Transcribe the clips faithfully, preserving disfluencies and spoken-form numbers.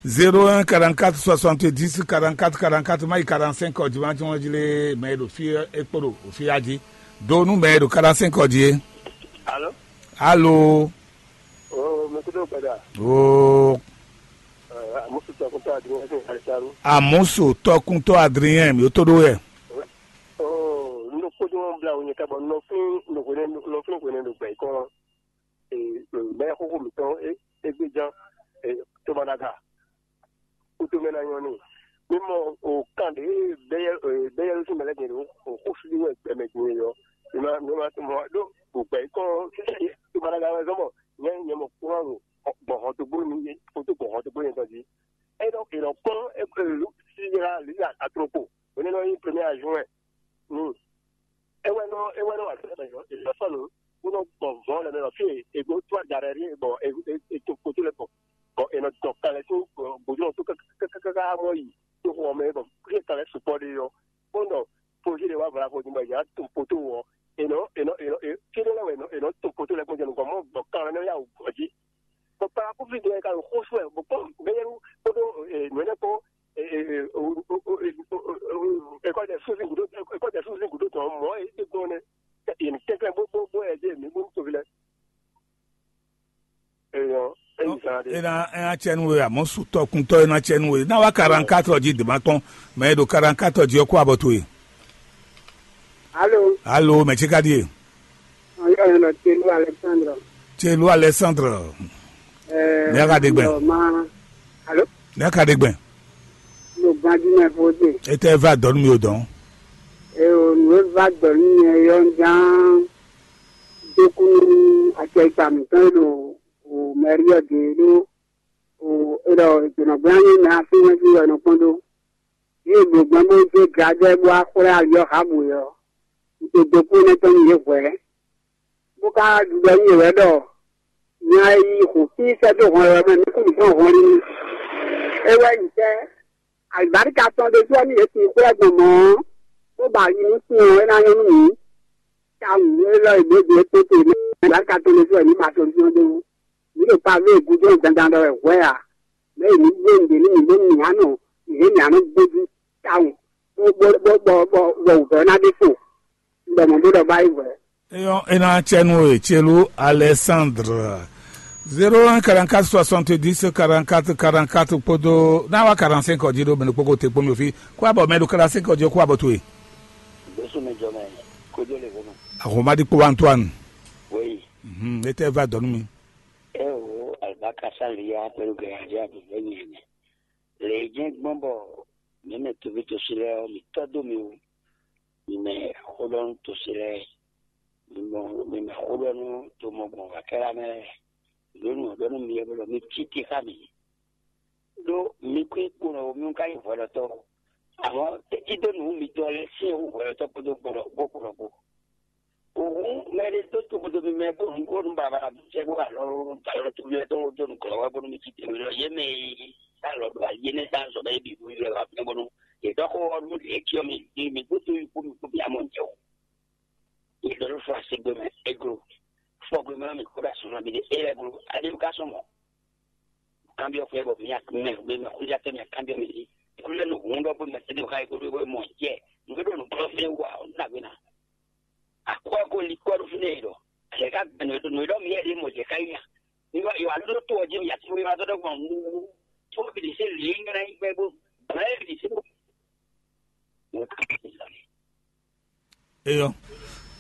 Zéro un quarante-quatre soixante-dix quarante-quatre quarante-quatre, mayi quarante-cinq ɔ́ jí wá jí wọ́n jí lé mɛ e ɖo fí é kpo ɖo fí a jí. Do nú mɛ e ɖo quarante-cinq ɔ́ jí é. Alo. Alo. Oo, mɛ kudo gbada. Oo. Amusu tɔkuntɔ Adrien fún Alitaru. Amusu tɔkuntɔ Adrien mi ó tó ɖó yɛ. Oo, n ɖo kpódó wọn bla wònyɛ ká bɔ nɔfín nɔfín nɔfín hwɛnɛ ɖo gbɛ kɔn. Mɛ xóxó mǐtɔn égbéján tomanaga kútó mɛ ná nyɔ́ n'i. Mí mɔ o kan ɖě bɛ́yɛ́ bɛ́yɛ́ sín mɛ lɛ́ɛ din ɖo o xó sú wɛ gbɛmɛ din é ɔ́, mi ma mi ma mɔ ɖó o gbɛ kɔn tomanaga wɛ zɔn bɔ nyɛ nyɛ mɔ kúrán gbɔn hɔntogbó mi kótó gbɔn hɔntogbó nyɛ tɔn jí. É nɔ é nɔ kpɔ́n síra lǐ atrokpo, hwenɛ́ nɔ nyí premier adjoint. Ni é wɛ nɔ é wɛ nɔ wa sɛnɛ mɛ yɔ, è nɔ sɔ́ nǔ bó nɔ gbɔn vɔ̌ lɛ́ɛ mɛ lɔ fí e è gbo tó ajarɛ ɖíe bɔ è è è to kpoto lɛ́ɛ gbɔn bɔ è nɔ dɔn kalɛ tó gbojúnɔ tó káká mɔ yi tó xɔ mɛ bɔ fí e kalɛ sukpɔ ɖe ɔ́, bó nɔ pojí ɖe wá vla xɔ din bɔ è nǎ to poto ɔ́, è nɔ è nɔ è nɔ fí ɖé lɛ́ɛ wɛ è nɔ è nɔ to poto lɛ́ɛ gbɔn jɛ nukɔn mɔ gbɔn kan lɛ́ɛ nɔ yá wǔ gbɔ jí. Bɔ kpalakuvi dɔ ɛ ka ɖo xó sú wɛ bɔ kpɔ́n gbɛyɛ́nu kpódó nǔ énɛ́ kpó ékɔ́ jɛ súnzín gǔdo ékɔ́ jɛ súnzín gǔdo tɔn mɔ̌ é é gbɔn nɛ́. Yě ní kɛnklɛ́n bó bó bó ɛ jɛ mǐ bó ní toví lɛ́ɛ. Eyɔ, eyi zan ɖe. Ena ena cɛnu we amɔ sutɔ kuntɔ ena cɛnu we na wa quarante-quatre ji dema kpɔn mɛ e ɖo quarante-quatre ji ɔkɔ abɔ to ye. Alo. Alo, mɛ tsi ka die? Ɔyɔ yɛn nɔ Telu Alexandre. Telu Alexandre. Ɛɛ, Mia ka ɖe gbɛ. Alo. Mia ka ɖe gbɛ. Mo gbadzi mɛ fo de. Ete va dɔn mi o dɔn. Eo, nu e va dɔn mi yɔ njan. Dokunu akɛkpa mǐtɔn e ɖo o mɛri ɔ́ de ɖo o e ɖɔ dɔnɔgbɛ́ anyi mɛ afínwɛ́n jí wɛ nɔ kpɔ́n ɖó. Yě ɖo gbɔn bó zé gladɛ́ bó wá xwlɛ́ ali ɔ́ hǎbǔ é ɔ́, un te dó kú énɛ́ tɔn nú yě hwɛ̌, bó ka ɖiɖɔ nú yě wɛ ɖɔ nya e yi xo fí sɛ́ dó hɔn wɛ mɛ nukún mǐtɔn hɔn lín. É wɛ nyí tɛ́, alǐbáríka tɔn ɖésú ɔ́ nú yě sin xwlɛ́ gbɔn mɔ̌ ɔ́, bó ba ayi nú sin ɔ́, é ná nyɔ́ nú mǐ. Tawun élɔ́ e ɖěbǔ é kpóte mɛ, alǎka tɔn ɖésú wɛ mǐ ba solution dó wú. Mǐ ɖo pavé e gúdo dandan ɖɔ wɛ hwɛ a? Mɛ̌ mǐ bló nǔɖé nú mǐ bónú mǐ ná nɔ mǐ mǐ ná nɔ gbójú tawun, bó bó bó bɔ bɔ bɔ wǔvɛ́ ná ɖe fo. Un ɖɔ mɔ̌ bó ɖɔ bá yi hwɛ. Eyɔn ena cɛnu e Celu Alexandre. Zéro un quarante-quatre soixante-dix quarante-quatre quarante-quatre kpódó na wa quarante-cinq ɔ́ jí ɖó mɛ ɖokpó ko te kpó mi fi kó abɔ mɛ ɖo quarante-cinq ɔ́ jí kó abɔ towe. Bɛsú mi jɔ mɛ kódó lè vɔnɔ. Ahomadi kpó Antoine. Wéyi. Mhm, ete va dɔn mi. Eo, alibaka saliya pẹ̀lú gẹ̀yàjẹ́ àbẹ̀bẹ̀ yẹn. Lè jẹ́ gbọ́n bɔ mɛmɛ tóbi tó sí lɛ ɔ, mi tɔ́ dó mi o. Mi mɛ xóɖɔnu tó sí lɛ, mi mɔ mi mɛ xóɖɔnu tó mɔ gbɔn wà kɛ́ lá mɛ lɛ. Lónìí ɔ́ ɖɔ nú mi yɛ bɔ mi cí te xá mi. Ɖó mi kún kponɔ mi ka nyí hwɛɖɔtɔ́. Amɔ̌ tɛ́ cí dó nǔ mitɔn lɛ́ɛ sín wú hwɛɖɔtɔ́ kpódó kponɔ kpó kponɔ kpó. Hǔn mɛ ɖé dó toxodo mimɛ bó nǔ bó nú baba jɛ bó alɔ alɔ toví lɛ́ɛ dó dó nǔ glɔ́ wɛ bónú mi cí te mi lɔ yě mɛ e alɔ ɖo ali énɛ́ dó azɔ̌ mɛ é bǐ bó ylɔ́ ɛ wá fínɛ́ bónú yě ɖɔ xó ɔ́ nú yě cyɔ mi mi mi gbódó yi kpó mi kpó mi amɔ jɛ o. Yě ɖɔ nú fɔ asigbe mɛ églo fɔgbe mɛ mi kó ɖo asɔnɔ mi ɖe é lɛ́ glo aɖé mi ka sɔn mɔ̌. Kanbyɔ́ xwé bɔ mía mɛ mɛ xwéjátɔ́ mía kanbyɔ́ mɛ ɖi. Kúlẹ̀ nǔ húndɔ́ bó mɛ tɛ́ xá yí kó ɖó mɔ jɛ nǔ ɖo nǔ kplɔ́ fínɛ́ wú ǎ, nú nǎgbé ná. Akwɛ́ ko li kɔ́ ɖó fínɛ́ yi ɖɔ. Yɛ ká gbɛn nǔ nǔ ɖɔ mía ɖě mɔ jɛ ká yi nya. Mi wá yi wá ɖó tó ɔ́ jí mi yá tó wá tó ɖɔ gbɔn nú tó bìlì sí lǐ nyɔ́ ná yi gbɛ bó. Bàbá yɛ bìlì sí bó. Eyɔ,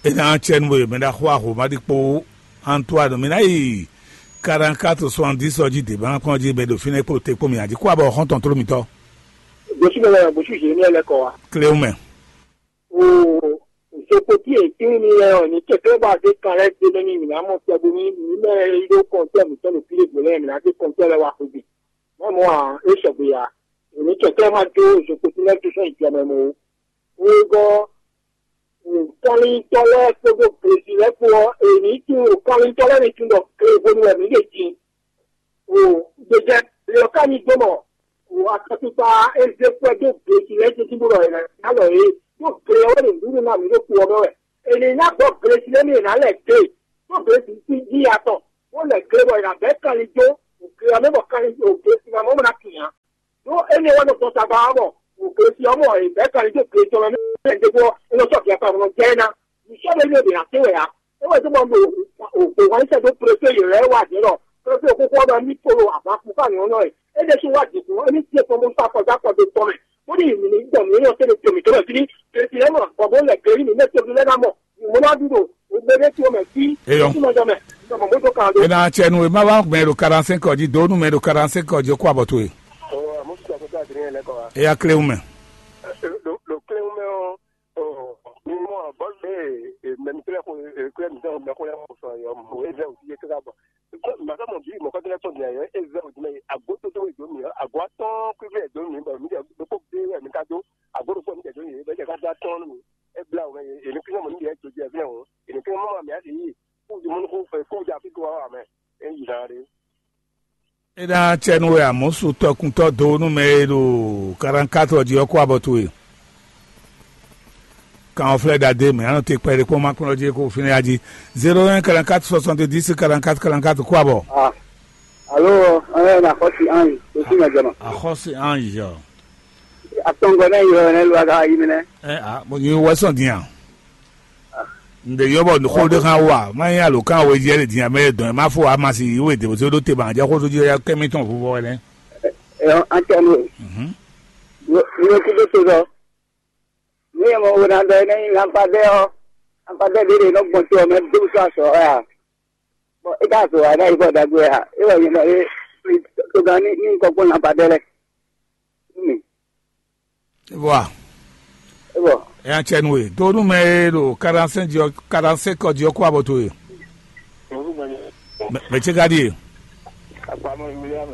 ena cɛnu e mɛ ɖaxó Ahomadi kpó Antoine mi ná yi quarante-quatre soixante-dix ɔ́ jí dě bá kpɔ́n jí bɛ ɖo fínɛ́ kpó te kpó mi ǎ jí kó abɔ xɔ́ntɔn tló mitɔ́. Gosí bɛ wɛ gosí Jérémie lɛ kɔ wa. Kléwú mɛ. O sokpoti e tín mi lɛ ɔ ní kɛkɛ bá dé kan lɛ dé mɛ ní mi ná mɔ tɛ bo ní mi mɛ yi ɖó kɔntɛ mi tɔn ɖo fílẹ̀ gbé lɛ mi ná dé kɔntɛ lɛ wa xwé gbe. Mɔ mɔ a é sɔgbe ya. Èmi kɛkɛ ma dó sokpoti lɛ tó sɔn ìjọba mɛ o. Wegɔ́, kɔnlintɔ́ lɛ́ɛ kpódó Glesi lɛ́ɛ kpó ɔ́, è nǐ tunwun kɔnlintɔ́ lɛ́ɛ ní tunwun ɖɔ Glehwenu wɛ mǐ ɖe din. O, gbèjɛ, leyɔ ká ní dó mɔ, o, akɔtukpa e zé kpɛ́ dó Glesi lɛ́ɛ tɛ́ntin bó ɖɔ è nǎ lɔ yě, ɖó gle ɔ́ wɛ ɖo nǔɖuɖu ná mǐ ɖo kpo ɔ́ mɛ wɛ. È nǐ ná gbɔ Glesi lɛ́ɛ mì è nǎ lɛ gbe, ɖó Glesi sín jí atɔn, bó lɛ gle bɔ è nǎ bɛ́ kanlin dó, Òkè ɔ́ mɛ bɔ kanlin òkè sinamɔ mɔ ná kìn á. Ɖó énɛ́ wɛ nɔ gbɔn tagba ɔ́ mɔ òkè si ɔ́ mɔ è bɛ̌ kanlin dó òkè tɔn mɛ mɛ ɖěvo ɔ́, é nɔ sɔ́ vǐ akpa nɔ jɛ ná. Nǔsɔ́ ɖé ní è ɖě ná kpé wɛ ǎ. É wɛ dó mɔ ɖo òkè wɛn sɛ dó préfé yě lɛ́ɛ wá jǐ nɔ. Préfé kúkú ɔ́ mɛ ní kpolo abǎkú ká nyɔ̌ nɔ ɛ. É ɖésú wá jǐkún émí dín kpɔ́n bó sɔ́ afɔ dó akɔ dó tɔn mɛ. Bó ní mǐ ní gbɔn mǐ nyɔ́ tɛ́ ɖo to mǐtɔn mɛ fí ní. Bɛ́sì lɛ́ɛ mɔ bɔ bó lɛ gleví mǐ mɛ togun lɛ́ɛ ná mɔ. Mɔ̌ ná ɖu ɖo gbéɖé towe mɛ fí. Eyɔ. Sísúnɔjɔ mɛ. Mɔ mɔ̌ dó kan ɖó. Ena tsɛ nu e ma wá mɛ ɖo quarante-cinq ɔ́ jí, dó nú mɛ ɖo quarante-cinq ɔ́ jí, kó abɔ towe. Ɔ, mo ti sɔkò tó adrien lɛ kɔ wa. Eya kléwún mɛ. Ɖo ɖo kléwún mɛ ɔ́, ɔ, mi mɔ bɔl ɖe mɛ mi kle ko kle mi dɔn mɛ ko lɛ ko sɔ yɔ mo e zɛ o ti ke ka bɔ. Maka mɔ bi mɔ kɔtɛ tɔn dia yɔ e zɛ o ti mɛ ago to to do mi ago atɔn kwi kwi do mi bɔ mi de do ko be wɛ mi ka do ago do ko mi de do ye be ka da tɔn mi. E bla o mɛ e ni kle mo ni de do je vle o e ni kle mo ma mi a de yi. Kúdùmúnukúnfɛ kúdà fíkúwá wà mɛ é yì náà ɖé. É ná cɛ nú we amɔ̌ su tɔkuntɔ́ dó nú mɛ e ɖo karankátrɔ jí ɔ́ kó abɔ towe. Kan ɔ́ flɛ́ ɖadé mɛ anɔ te kpɛɖé kpɔ́n má kplɔ́n jí kó fínɛ́ yá jí. Zéro un quarante-quatre soixante-dix quarante-quatre quarante-quatre kó abɔ. Ah, alo, ɔn na xɔsi anyi, o si mɛ jɔnɔ. Axɔ́sí anyi ɔ. Atɔngɔ ne yɔ ne lo aga yi mɛ nɛ. Ɛ a mo nyi wɛ sɔn din a. N ɖe yɔ bɔ xó ɖé hã wa má nyí alo kán wezí ɛ́ ɖe din amɛ dɔn ɛ má fó amasi yi wé dèbò sódó te ma jɛ xó tó jí ya kɛmí tɔn vuvɔ wɛ nɛ. Ɛ an tɔ no. Mhm. Yo yo kí tó so sɔ. Ní ɛ mɔ wo na dɔ ɛ nɛ nyi lampadɛ ɔ, lampadɛ ɖé ɖé nɔ gbɔn tó ɔ mɛ dó sɔ asɔ ɛ a. Bɔn é ka zɔ wa ɛ ná yi bɔ dagbe ɛ a. É wɔ yɛ nɔ é. Tó gan ní ní kɔkpɔn lampadɛ lɛ. Ní mi. Vɔa. Ebo. Ɛ an cɛ nu e. Donu mɛ e ɖo quarante-cinq jí ɔ, quarante-cinq ɔ́ jí ɔ́ kó abɔ towe. Mɛ mɛ ce ka ɖi e. Akpamoli William.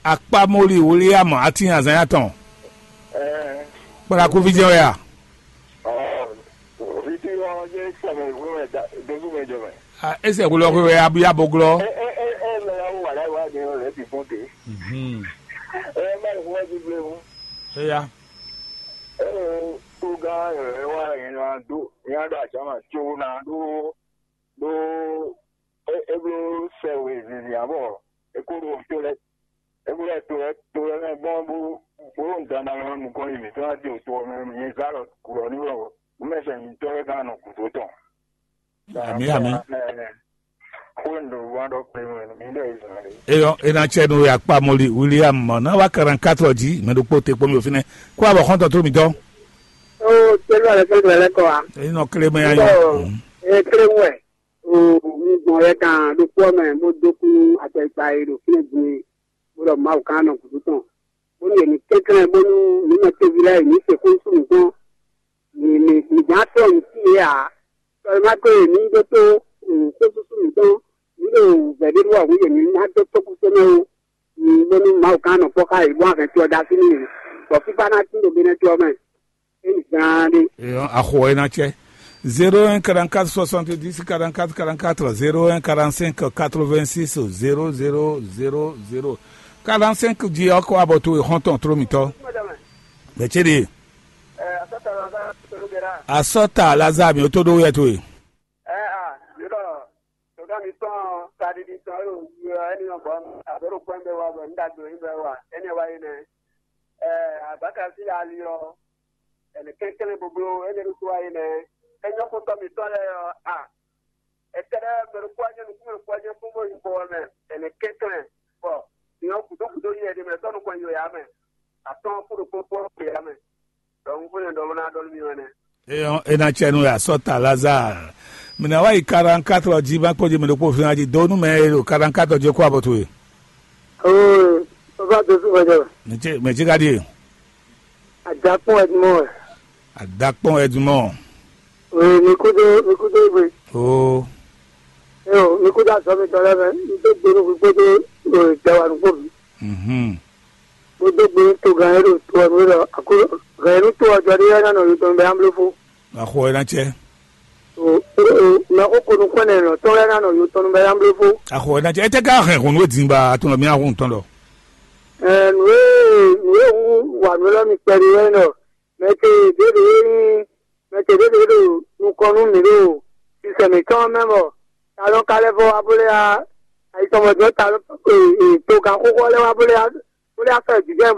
Akpamoli William ati azan ya tɔn. Ɛɛ. Kpalakuvi jɛ wɛ ya. Ɔ, viti ɔ jɛ sɛmɛ wúmɛ da dojú mɛ jɔ mɛ. Ah, ese wulɔ hwe wɛ abu ya bo glɔ. Ɛ ɛ ɛ ɛ mɛ ya wà láyé wá ní ọ̀rẹ́ ti fún de. Mhm. Ɛ má ìfún wá ti blé mu. Eya. Ɛ ɛ tó gán ɛ wá yẹn ná dó yẹn á dó àjàmà tó ná dó dó ɛ ɛ bló sɛ wé zìzì àbọ̀ ẹ kó ɖó tó lɛ ẹ kó lɛ tó lɛ tó lɛ mɛ gbɔn bó bó ń dáná lọ nukɔn yìí mi tó ná dé òtó ọmọ mi yẹn zá lọ kúrò ní wọ mẹsẹ mi tọ́ ẹ gán nọ kùtó tán. Ami ami. Eyɔ ena tsɛ nu ya kpa moli William mɔ na wa quarante-quatre ɔ́ jí mɛ ɖokpó te kpɔ́n mi o fínɛ́ kó abɔ xɔ́ntɔn tó mi dɔn. Ó tẹ́lú alẹ́ fẹ́ lẹ́kọ̀ọ́ wa. Eyín nɔ klémɛ ya nyɔ. Ɔ ẹ klémɛ wɛ. O un gbɔn yɛ kan ɖokpó ɔ́ mɛ bó dó kú akpɛkpa e ɖo fínɛ́ din e bó ɖɔ Mawu ka nɔ gǔdo tɔn. Bónú yě ní kɛnklɛ́n bónú mǐ mɛ toví lɛ́ɛ yě ní se xó sú mǐ kpɔ́n. Mǐ mǐ mǐ ján tɔ́ mǐ sí yě ǎ. Sɔlɔ́mátɔ́ e mǐ ɖótó xósúsú mǐtɔn, mǐ ɖo vɛ̌ ɖé ɖó wǎ hú yě ní ná dó tókúsónɛ́ ó. Bónú Mawu ka nɔ kpɔ́ xá yě bó wá hɛn to ɔ́ dó así nú yě, bɔ fífá ná tín ɖo Benɛ́ to ɔ́ mɛ. É nyí zaanɖé. Axɔ ɛ ná cɛ. Zéro un quarante-quatre soixante-dix quarante-quatre quarante-quatre, zéro un quarante-cinq quatre-vingt-six zéro zéro zéro zéro. Quarante-cinq jí ɔkɔ abɔ towe xɔntɔn tro mitɔ. Bɛcɛli. Asɔta Lazare mi o to ɖo wɛ towe. Ɛ a yɔrɔ tɔgá mi tɔn kaɖiɖi tɔn yóò yi ɔ ɛni ɔ bɔ abɛrò kpɛn bɛ wa bɔ n dagbe yi bɛ wa ɛni wa yi nɛ. Ɛ abaka sí ali ɔ ɛnɛ kɛnkɛn boblo ɛni ɖo to wa yi nɛ. Ɛnyɔ kotɔ mi tɔn lɛ ɔ a ɛtɛlɛ mɛɖo kó anyɛ nukún mɛ kó anyɛ kó bɔ yi bɔ mɛ ɛnɛ kɛnkɛn bɔ nyɔ kudo kudo yi ɛdi mɛ tɔnu kɔn yi ya mɛ atɔn kó ɖo kpɔkpɔ yi ya mɛ. Dɔnku fúnɛ dɔ ná dɔ mí wɛnɛ. Eyɔn ena tsɛ nu ya sɔta Lazare. Mina wa yi quarante-quatre ɔ́ jí má kpɔ́ jí mi ɖokpó fín ají dó nú mɛ e ɖo quarante-quatre ɔ́ jí kó abɔ towe. Oo, bàbá tó sùn wájà. Mɛ ce mɛ ce ka ɖi e. Àdàpọ̀ Edmond. Àdàpọ̀ Edmond. Ee, mi kú dé mi kú dé gbé. Oo. Ee, mi kú dé àzọ́ mi tọ́lá mẹ́, mi tó gbónú gbígbó dé ìjẹwà nùgbò mi. Mhm. Bó dó gbe tó gan yẹn ɖo to ɔ́ nú lɔ, gan yẹn nú to ɔ́ jɔ ɖé yɛ́ ná nɔ yotɔn bɛ ambló fó. Axɔ ɛ ná cɛ. O o o, mɛ xó ko nukún ɛnɛ nɔ tɔn yɛ́ ná nɔ yotɔn bɛ ambló fó. Axɔ ɛ ná cɛ. Ɛ tɛ ká hɛn hɔn nú dǐn ba atɔn lɔ mi ahun tɔn lɔ. Ɛ nǔ e nǔ e hu wà nú lɔ mi kpɛɖé wɛ nɔ, mɛ ce ɖěɖě e nyí mɛ ce ɖěɖě ɖo nukɔn nú mǐ ɖo sisɛ mǐtɔn mɛ bɔ ta nɔ ka lɛ́ vɔ wá bó lɛ́ wá Àyíṣọmọdé ta togan xóxó lɛ́ wá bó lé bó lé afẹ́ jǐjẹ́